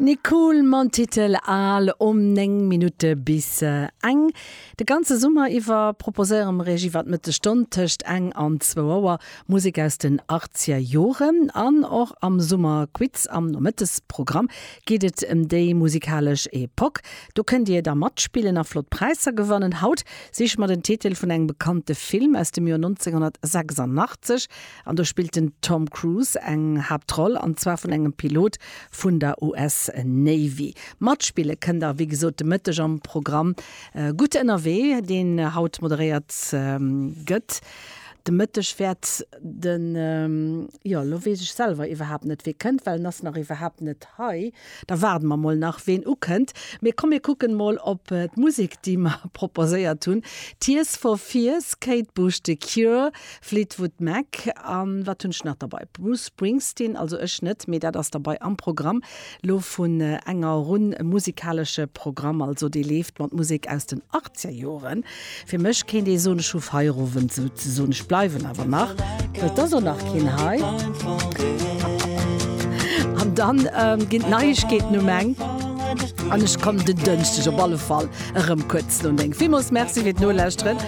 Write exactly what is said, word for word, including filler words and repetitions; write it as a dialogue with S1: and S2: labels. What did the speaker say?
S1: Nicole mam Titel Al um néng Minutte bis eng. De ganze Summer iwwer proposéiere mer iech iwwer d'Mëttesstonn tëscht eng an zwou Auer Musek aus den achtzeger Joren. An och am Summerquiz am Nomëttesprogramm geet et ëm déi musikalesch Epoch. Do kënnt Dir da matspillen a flott Präisser gewannen. Haut siche mer den Titel vun engem bekannte Film aus dem Joer neunzehnhundertsechsundachtzeg an do spillt den Tom Cruise eng Haaptroll an zwar vun engem Pilot vun der U S Navy. Matspille kënnt der wéi gesot de Mëtteg am Programm äh, Gutt ënnerwee, deen haut moderéiert ähm, gëtt. De Mëtteg wäert den ähm, jo, lo weess ech selwer iwwerhaapt net wie kënnt, well en ass nach iwwerhaapt net hei. Da waarde mer mol nach ween ukënnt. Mir komm mir kucken mol op äh, d'Musek, déi mer proposéiert hunn. Tears for Fears, Kate Bush, The Cure, Fleetwood Mac an wat hunn ech nach dabei? Bruce Springsteen, also ech net, mee dat ass dabei am Programm lo vun äh, enger Runn musikalesche Programm, also déi leeft mat Musek aus den achtzeger Joren. Fir mech kéint ee soen ech hu Feierowend souzesoen, ech bleiwen awer nach, well et ass och nach keen hei. An dann ähm, ginn d'Neiegkeeten um eng. An ech kommen den Dënschdeg op alle Fall erëm kuerz no néng. Villmools Merci fir d'Nolauschteren.